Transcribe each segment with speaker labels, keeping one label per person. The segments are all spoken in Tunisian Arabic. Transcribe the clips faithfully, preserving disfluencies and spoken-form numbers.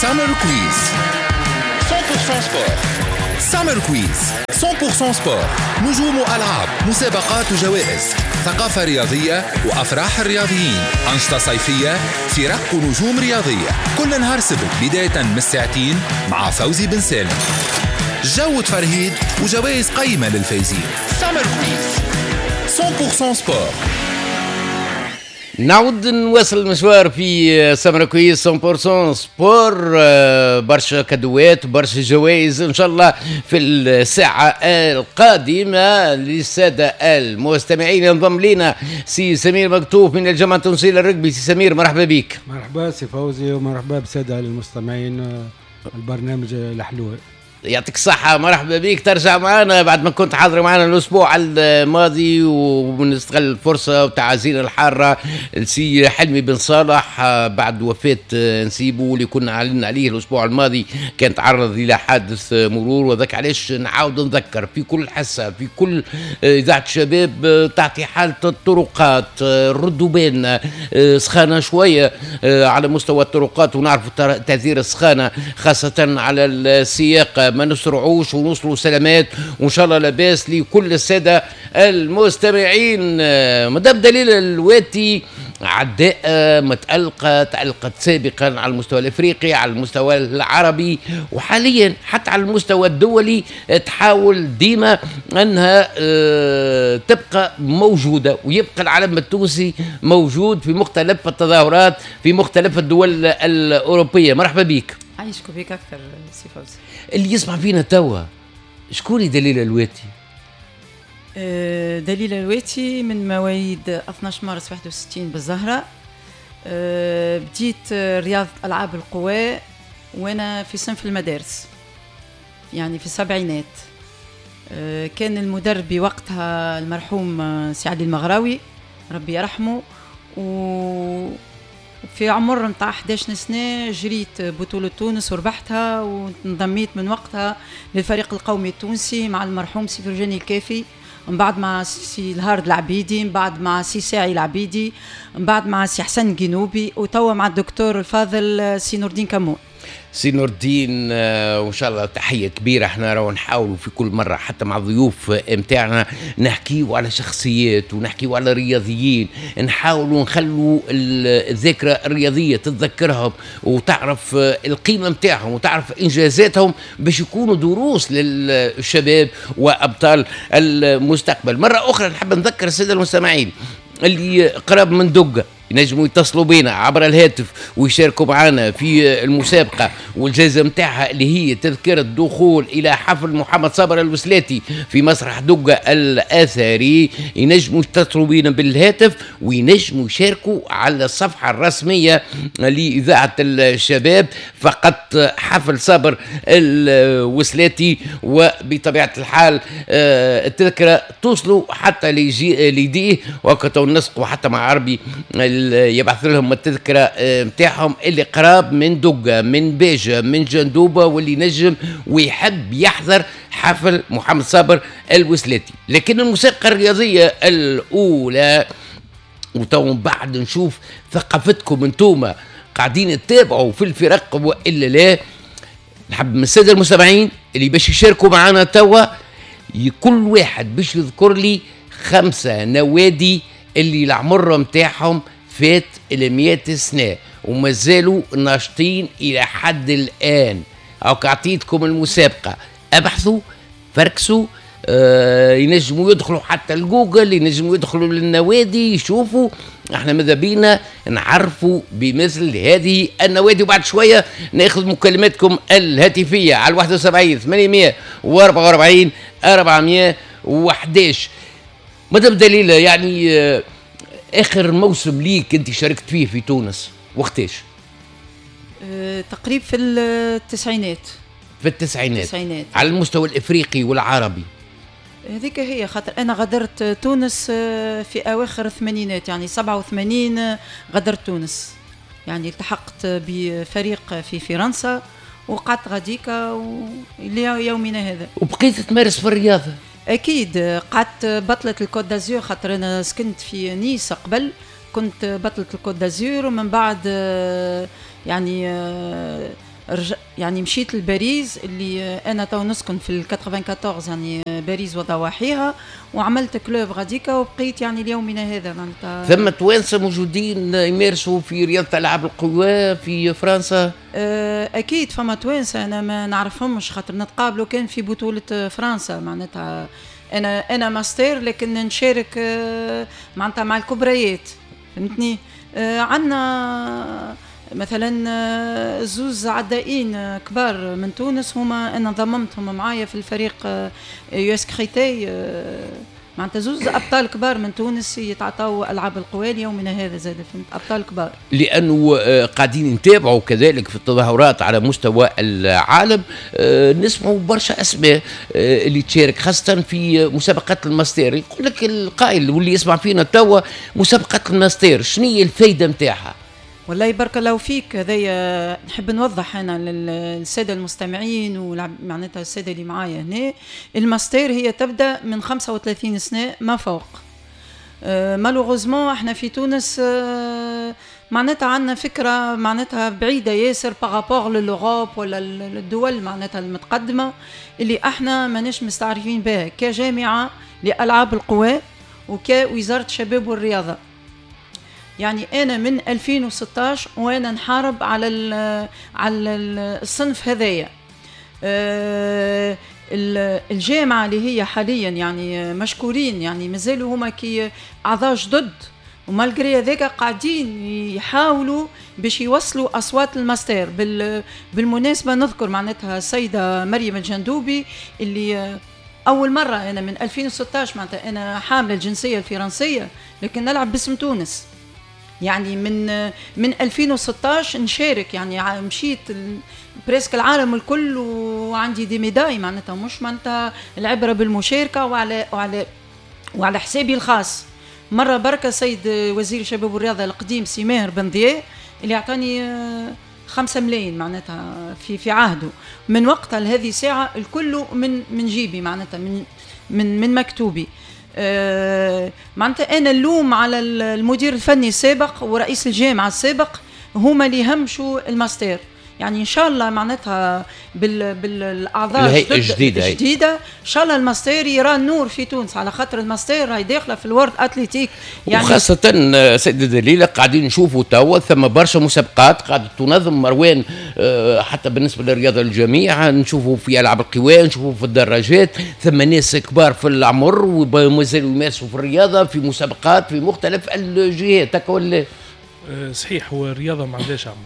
Speaker 1: Summer Quiz مية بالمية sport. Summer Quiz مية بالمية sport، نجوم وألعاب، مسابقات وجوائز، ثقافة رياضية وأفراح الرياضيين، أنشطة صيفية، فرق ونجوم رياضية. كل نهار سبت بداية من الساعتين مع فوزي بن سالم، جو تفرهيد وجوائز قيمة للفايزين. Summer Quiz مية بالمية sport.
Speaker 2: نعود نواصل المشوار في Summer Quiz مية بالمية sport. آه، برشا cadeau ات، برشا جوائز ان شاء الله في الساعة القادمة للسادة المستمعين. ينضم لنا سي سمير مكتوف من الجامعة التونسية للرجبي. سي سمير، مرحبا بك.
Speaker 3: مرحبا سي فوزي ومرحبا بالسادة المستمعين آه، البرنامج الحلو.
Speaker 2: يعطيك الصحة، مرحبا بك، ترجع معنا بعد ما كنت حاضر معنا الأسبوع الماضي. ونستغل الفرصة وتعازينا الحارة لسي حلمي بن صالح آه، بعد وفاة آه، نسيبه اللي كنا أعلنا عليه الأسبوع الماضي، كان تعرض إلى حادث مرور. وذاك علاش نعاود نذكر في كل حصة، في كل آه، إذاعة شباب تعطي حالة الطرقات. ردوا بالنا، سخانة شوية على مستوى الطرقات، ونعرف تأثير السخانة خاصة على السياقة. ما نسرعوش ونوصلوا سلامات، وان شاء الله لاباس لكل السادة المستمعين. مدام دليل الواتي، عداءة متألقة، تألقت سابقا على المستوى الافريقي، على المستوى العربي، وحاليا حتى على المستوى الدولي، تحاول ديما انها آه، تبقى موجودة ويبقى العلم التونسي موجود في مختلف التظاهرات في مختلف الدول الاوروبية. مرحبا بك.
Speaker 4: عايشك بك اكثر سي فوزي.
Speaker 2: اللي يسمع فينا توا، شكون دليل الواتي؟
Speaker 4: أه، دليل الواتي من مواليد اثناش مارس واحد وستين بالزهرة. أه، بديت رياضة ألعاب القوى وأنا في صنف المدارس، يعني في السبعينات. أه، كان المدرب وقتها المرحوم سي علي المغراوي، ربي يرحمه. و في عمر نتاع احداش سنة جريت بطولة تونس وربحتها، وانضميت من وقتها للفريق القومي التونسي مع المرحوم سي فرجاني الكافي، من بعد مع سي الهارد العبيدي، من بعد مع سي ساعي العبيدي، من بعد مع سي حسن جنوبي، وتوا مع الدكتور الفاضل سي نور الدين كمون.
Speaker 2: سي نور الدين، آه، وان شاء الله تحية كبيره. احنا راهو نحاولوا في كل مرة حتى مع الضيوف نتاعنا نحكيو على شخصيات ونحكيو على رياضيين، نحاولوا نخلوا الذاكرة الرياضية تتذكرهم وتعرف القيمة نتاعهم وتعرف انجازاتهم باش يكونوا دروس للشباب وابطال المستقبل. مرة اخرى نحب نذكر السادة المستمعين اللي قراب من دقه ينجموا يتصلوا بنا عبر الهاتف ويشاركوا معنا في المسابقة والجائزة متاعها اللي هي تذكرة دخول إلى حفل محمد صابر الوسلاتي في مسرح دقة الأثري. ينجموا يتصلوا بنا بالهاتف وينجموا يشاركوا على الصفحة الرسمية لإذاعة الشباب، فقط حفل صابر الوسلاتي. وبطبيعة الحال آه، التذكرة توصلوا حتى ليديه وقت نسقوا حتى مع عربي يبعث لهم التذكرة نتاعهم، اللي قراب من دقة، من باجة، من جندوبة، واللي نجم ويحب يحضر حفل محمد صابر الوسلاتي. لكن المسابقة الرياضية الأولى، وتو بعد نشوف ثقافتكم انتوما، قاعدين تتابعوا في الفرق والا لا. نحب من السادة المستمعين اللي باش يشاركوا معنا توا، كل واحد باش يذكر لي خمسة نوادي اللي العمر نتاعهم فات ال مية سنة وما زالوا ناشطين الى حد الان. او اعطيتكم المسابقه، ابحثوا، فركسوا، آه ينجموا يدخلوا حتى الجوجل، ينجموا يدخلوا للنوادي يشوفوا. احنا ماذا بينا نعرفوا بمثل هذه النوادي. وبعد شوية ناخذ مكالماتكم الهاتفية على واحد وسبعين ثمانمية وأربعة وأربعين أربعمية وحداش. مدام دليلة، يعني آه اخر موسم ليك انت شاركت فيه في تونس وقتاش؟
Speaker 4: أه تقريبا في التسعينات.
Speaker 2: في التسعينات.
Speaker 4: التسعينات.
Speaker 2: على المستوى الافريقي والعربي؟
Speaker 4: هذيك هي، خاطر انا غادرت تونس آه، في اواخر الثمانينات، يعني سبعة وثمانين آه، غادرت تونس، يعني التحقت بفريق في فرنسا وقعدت غاديكا ليومنا هذا.
Speaker 2: وبقيت تمارس في الرياضه؟
Speaker 4: اكيد، قعدت بطلة ال Côte d'Azur، خاطر انا سكنت في نيس قبل، كنت بطلة ال Côte d'Azur، ومن بعد آه، يعني يعني مشيت لباريس اللي انا تو نسكن في ال أربعة وتسعين، يعني باريس وضواحيها، وعملت club غاديكا وبقيت يعني ليومنا هذا معناتها.
Speaker 2: ثم توانسة موجودين يمارسوا في رياضة العاب القوى في فرنسا؟
Speaker 4: آه، اكيد فما توانسه، انا ما نعرفهمش خاطر نتقابلوا كان في بطوله فرنسا. معناتها انا انا master لكن نشارك آه، معناتها مع الكبريات، فهمتني؟ آه، عندنا مثلا آه، زوز عدائين كبار من تونس، هما انا ضممتهم معايا في الفريق US Créteil، معناتها زوز ابطال كبار من تونس يتعاطوا العاب القوى ليومنا هذا زاد، فهمت؟ ابطال كبار.
Speaker 2: لانه آه، قاعدين نتابعوا كذلك في التظاهرات على مستوى العالم، آه، نسمعوا برشا اسماء آه، اللي تشارك خاصة في مسابقات ال master. يقول لك القائل واللي يسمع فينا توا، مسابقات الماستر شنو هي الفايدة نتاعها؟
Speaker 4: والله بارك الله فيك، هذايا نحب نوضح انا للسادة المستمعين ومعناتها السادة اللي معايا هنا، الماستر هي تبدا من خمسة وثلاثين سنة ما فوق. malheureusement احنا في تونس آه، معناتها عندنا فكرة معناتها بعيدة ياسر par rapport ل l'Europe ولا الدول معناتها المتقدمه، اللي احنا ماناش مستعرفين بها كجامعه لالعاب القوى وكوزاره الشباب والرياضه. يعني انا من ألفين وستة عشر وانا نحارب على على الصنف هذايا. آه، الجامعة اللي هي حاليا يعني مشكورين، يعني مازالوا هما كي اعضاء جدد و malgré هذاك قاعدين يحاولوا باش يوصلوا اصوات الماستر. بالمناسبة نذكر معناتها السيدة مريم الجندوبي اللي اول مرة انا من ألفين وستة عشر، معناتها انا حامله الجنسية الفرنسية لكن نلعب باسم تونس، يعني من من ألفين وستة عشر نشارك، يعني مشيت presque العالم الكل وعندي des médailles. معناتها مش معناتها العبرة بالمشاركه، وعلى وعلى وعلى حسابي الخاص. مرة بركة سيد وزير الشباب والرياضة القديم سي ماهر بن ضياء اللي اعطاني آه، خمسة ملايين معناتها في في عهده. من وقتها لهذه الساعة الكل من من جيبي، معناتها من من من مكتوبي. آه، معناتها انا اللوم على المدير الفني السابق ورئيس الجامعة السابق، هما اللي همشوا الماستر. يعني ان شاء الله معناتها بال بالاعضاء
Speaker 2: الهيئة الجديده.
Speaker 4: الجديده، ان شاء الله الماستر يرى النور في تونس، على خاطر الماستر راهي داخله في ال World Athletics.
Speaker 2: يعني وخاصة سيدة دليلة، قاعدين نشوفوا توا ثم برشا مسابقات قاعدة تنظم مروان، آه، حتى بالنسبة للرياضة للجميع، نشوفوا في ألعاب القوى، نشوفوا في الدراجات، ثم ناس كبار في العمر ومازالوا يمارسوا في الرياضة في مسابقات في مختلف الجهات، هكا ولا؟
Speaker 5: أه، صحيح، هو الرياضة ما عندهاش عمر.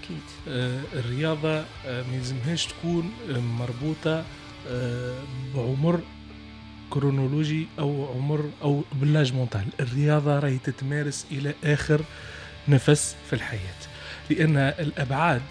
Speaker 5: اكيد آه، الرياضة آه، ما يلزمهاش تكون مربوطة آه، بعمر كرونولوجي او عمر او ب l'âge mental. الرياضة راهي تتمارس الى اخر نفس في الحياه، لان الابعاد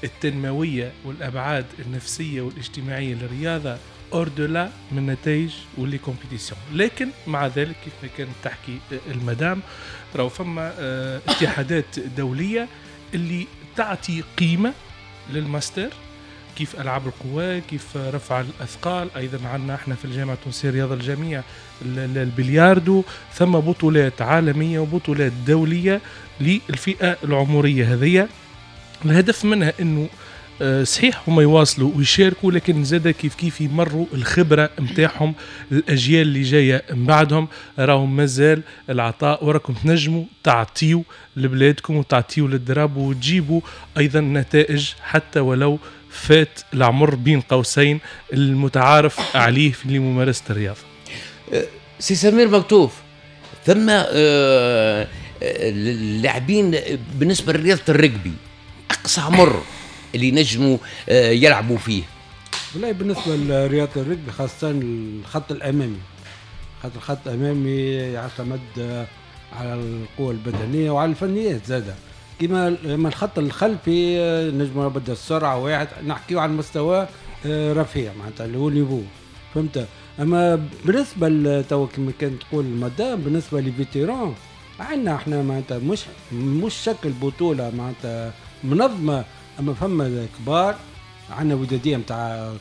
Speaker 5: التنموية والابعاد النفسية والاجتماعية للرياضة au-delà من النتائج و les compétitions. لكن مع ذلك، كيف ما كانت تحكي المدام، راهو فما اتحادات دولية اللي تعطي قيمة للماستر، كيف العاب القوى، كيف رفع الاثقال. ايضا عندنا احنا في الجامعة التونسية رياضة الجميع البلياردو. ثم بطولات عالمية وبطولات دولية للفئه العمرية هذه، الهدف منها انه آه، صحيح هما يواصلوا ويشاركوا، لكن زاد كيف كيف يمروا الخبرة نتاعهم للاجيال اللي جاية من بعدهم، راهم مازال العطاء وراكم تنجموا تعطيوا لبلادكم وتعطيوا لل drapeau وتجيبوا ايضا نتائج حتى ولو فات العمر بين قوسين المتعارف عليه في ممارسة الرياضة.
Speaker 2: أه، سي سمير مكتوف، ثم آه، اللاعبين بالنسبة لرياضه الرجبي، اقصى عمر اللي نجموا آه، يلعبوا فيه؟
Speaker 3: والله بالنسبة لرياضه الرجبي، خاصة الخط الامامي، خاطر الخط الامامي يعتمد على القوة البدنية وعلى الفنيات زاده، كما الخط الخلفي نجم بدا السرعة واحد، نحكيو على المستوى آه، رفيع معناتها اللي هو niveau، فهمت؟ اما بالنسبة تو كما كانت تقول المدام، بالنسبة les vétérans عندنا احنا معناتها مش مش شكل بطوله معناتها منظمه، اما فما كبار، عندنا وداديه نتاع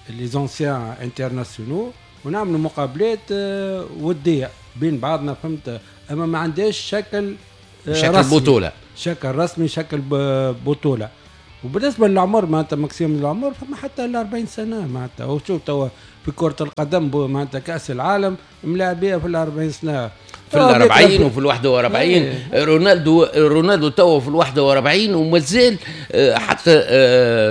Speaker 3: les anciens internationaux ونعملوا مقابلات آه، وديه بين بعضنا، فهمت؟ اما ما عندهاش شكل
Speaker 2: آه، شكل رسمي بطوله.
Speaker 3: شكل رسمي، شكل بطوله. وبالنسبة للعمر معناتها maximum العمر فما حتى ال أربعين سنة معناتها. وشوف توا في كره القدم معناتها كاس العالم ملاعبيه في ال أربعين سنة،
Speaker 2: في ال أربعين وفي ال واحد وأربعين. رونالدو رونالدو توا في ال واحد وأربعين ومازال حتى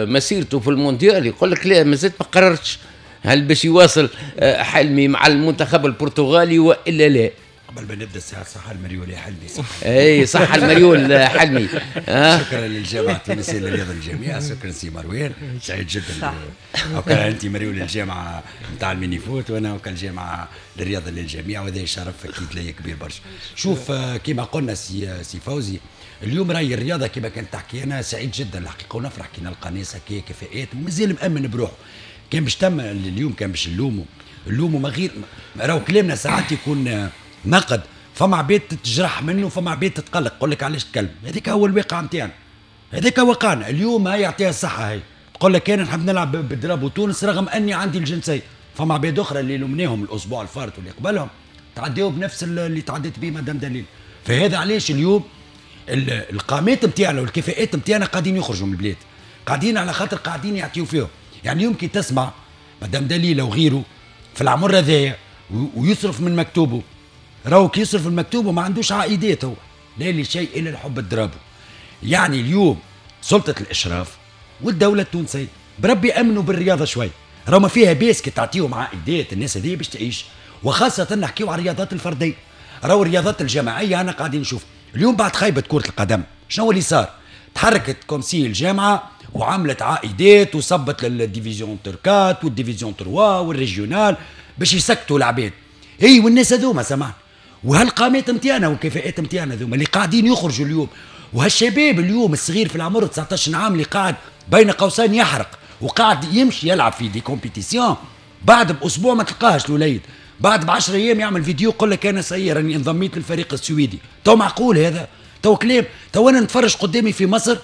Speaker 2: مسيرته في المونديال يقول لك لا مازلت ما قررتش هل باش يواصل حلمي مع المنتخب البرتغالي والا لا.
Speaker 6: قبل ما نبدا الساعة صح المريول يا حلمي، صح
Speaker 2: اي صح المريول حلمي.
Speaker 6: شكرا للجامعة التونسية للرياضة للجميع، شكرا سي مروان، سعيد جدا. وكان انت مريول الجامعة نتاع ال mini-foot وانا وكان الجامعة للرياضة للجميع، وهذا شرف اكيد لي كبير برشا. شوف كما قلنا سي سي فوزي، اليوم راي الرياضة كما كانت تحكي، انا سعيد جدا الحقيقة ونفرح كي نلقى ناس هكا كفاءات ومازال مامن بروحه. كان باش تم اليوم كان باش نلوموا نلوموا ما غير راهو كلامنا ساعات يكون نقد، فما عباد تتجرح منه، فما عباد تتقلق، يقول لك علاش تكلم. هذاك هو الواقع نتاعنا، هذاك واقعنا اليوم. هاي يعطيها الصحة، هاي تقول لك انا نحب نلعب ب drapeau تونس رغم اني عندي الجنسية. فما عباد اخرى اللي لومناهم الاسبوع الفارط واللي قبلهم تعداو بنفس اللي تعديت به مدام دليل. فهذا علاش اليوم القامات نتاعنا والكفاءات نتاعنا قاعدين يخرجوا من البلاد، قاعدين على خاطر قاعدين يعطيو فيهم. يعني اليوم كي تسمع مدام دليله وغيره في العمر هذايا ويصرف من مكتوبة، راهو كي يصرف المكتوب وما عندوش عائدات هو، لا لشيء الا الحب الدرابو. يعني اليوم سلطة الاشراف والدولة التونسية بربي امنوا بالرياضة شوي، راهو ما فيها باس كي تعطيهم عائدات الناس هذه باش تعيش، وخاصة نحكيو على الرياضات الفردية. راهو الرياضات الجماعية انا قاعدين نشوف اليوم بعد خيبه كره القدم شنو اللي صار؟ تحركت comme si الجامعة وعملت عائدات وصبت لل division quatre وال division trois وال régional باش يسكتوا العباد. اي والناس هذوما سمعت، وهالقامات نتاعنا والكفاءات نتاعنا ذوما اللي قاعدين يخرجوا اليوم، وهالشباب اليوم الصغير في العمر تسعطاش عام اللي قاعد بين قوسين يحرق وقاعد يمشي يلعب في des compétitions، بعد باسبوع ما تلقاهش الوليد، بعد بعشر ايام يعمل فيديو يقول لك انا سير راني انضميت للفريق السويدي. تو معقول هذا؟ تو كلام؟ تو انا نتفرج قدامي في مصر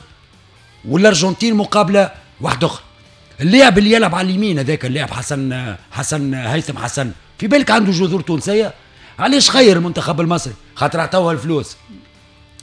Speaker 6: والارجنتين مقابله واحدة اخرى، اللاعب اللي يلعب على اليمين هذاك اللاعب حسن حسن هيثم حسن، في بالك عنده جذور تونسية؟ علاش خير المنتخب المصري؟ خاطر عطاوها الفلوس.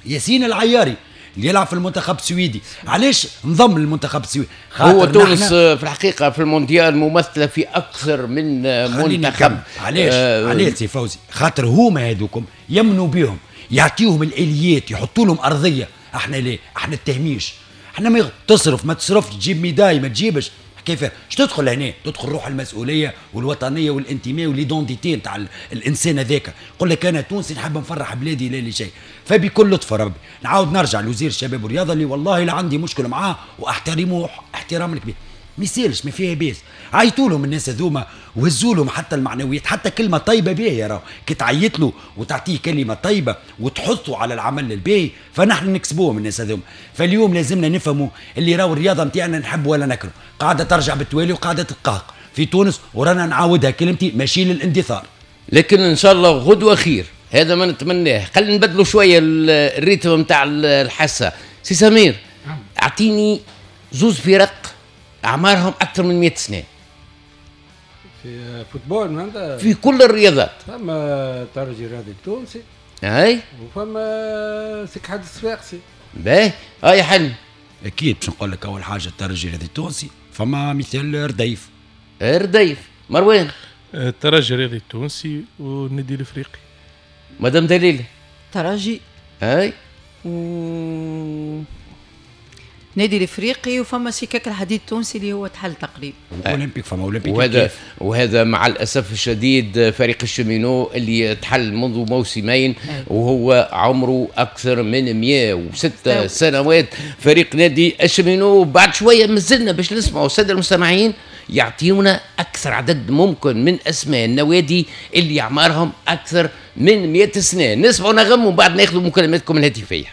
Speaker 6: ياسين العياري اللي يلعب في المنتخب السويدي، علاش انضم للمنتخب السويدي؟
Speaker 2: هو تونس في الحقيقة في المونديال ممثلة في اكثر من منتخب.
Speaker 6: علاش؟ آه علاش سي فوزي؟ خاطر هما هذوكم يمنوا بهم، يعطيوهم الاليات، يحطوا لهم ارضية. احنا ليه؟ احنا التهميش، احنا ما تصرف ما تصرفش، تجيب médaille ما تجيبش، كيف اش تدخل هنا؟ تدخل روح المسؤولية والوطنيه والانتماء و l'identité نتاع الانسان هذاك، يقول لك انا تونسي نحب نفرح بلادي لا لشيء. فبكل لطف ربي نعاود نرجع لوزير الشباب والرياضة اللي والله لا عندي مشكلة معاه واحترمه احترام الكبير، ما يسالش ما فيها باس، عيطوا لهم الناس هذوما وهزوا لهم حتى المعنويات، حتى كلمة طيبة باهيه، راهو كي تعيط له وتعطيه كلمة طيبة وتحثه على العمل الباهي فنحن نكسبوهم الناس هذوما. فاليوم لازمنا نفهموا اللي راهو الرياضة نتاعنا نحب ولا نكره قاعدة ترجع بالتوالي وقاعدة تتقهق في تونس، ورانا نعاودها كلمتي ماشي للاندثار،
Speaker 2: لكن ان شاء الله غدوه خير، هذا ما نتمناه. خلينا نبدلوا شوية ال rythme نتاع الحصة. سي سمير، اعطيني زوز فرق اعمارهم اكثر من مئة سنة
Speaker 3: في football معناتها
Speaker 2: في كل الرياضات.
Speaker 3: فما الترجي الرياضي التونسي،
Speaker 2: اي،
Speaker 3: وفما سكحة الصفاقسي.
Speaker 2: باهي، هاي حل
Speaker 6: اكيد باش نقول لك اول حاجة الترجي الرياضي التونسي، فما مثال رديف.
Speaker 2: رديف مروان.
Speaker 5: الترجي الرياضي التونسي والنادي الافريقي.
Speaker 2: مدام دليل.
Speaker 4: ترجي
Speaker 2: اي
Speaker 4: و نادي الافريقي، وفما سكاك الحديد التونسي اللي هو تحل تقريبا.
Speaker 6: اولمبيك، فما اولمبيك.
Speaker 2: وهذا وهذا مع الاسف الشديد فريق ال cheminots اللي تحل منذ موسمين وهو عمره اكثر من مئة وستة سنوات، فريق نادي ال cheminots. بعد شوية مازلنا باش نسمعوا السادة المستمعين يعطيونا اكثر عدد ممكن من اسماء النوادي اللي اعمارهم اكثر من مئة سنة. نسمعوا نغم وبعد ناخذ مكالماتكم الهاتفية.